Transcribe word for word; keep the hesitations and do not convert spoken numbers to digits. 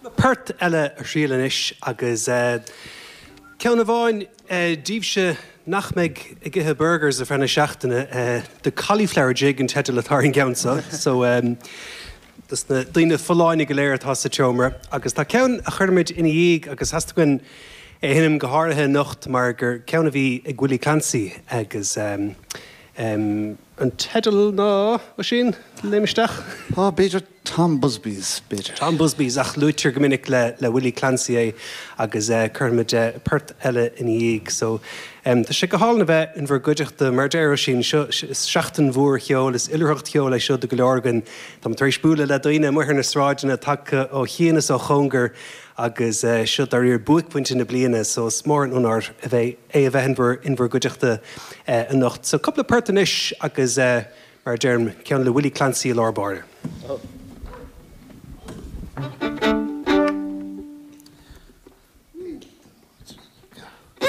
Port eile a thriail anois agus ceann amháin daoibhse nach mbeidh ag ithe burgers ar feadh na seachtaine, The Cauliflower Jig an teideal atá ar an gceann seo, so dos na daoine folláine go léir atá sa tseomra. Agus tá ceann a chuirfimid ina dhiaidh agus theastaigh uainn é a sheinm go háirithe anocht mar gur ceann a bhí ag Willie Clancy agus um, um, an teideal ná, Oisín, léim isteach? Á, b'fhéidir Tom Busby's, b'fhéidir. Tom Busby's, ach luaitear go minic le, le Willie Clancy é agus uh, cuirfimid uh, port eile ina dhiaidh. So um, tá sé go hálainn a bheith in bhur gcuideachta. Mar a deir Oisín, seo is seachtain mhór cheoil, is oilithreacht cheoil é seo do go leor againn. Tá tar éis bualadh le daoine amuigh ar na sráideanna tagtha ó chian is ó chóngar agus uh, seo dáiríre buaicphointe na bliana, so is mór an onóir a bheith é a bheith in bhur in bhur gcuideachta uh, anocht. So cúpla port anois agus uh, mar a deirim, ceann le Willie Clancy i lár báire. Oh.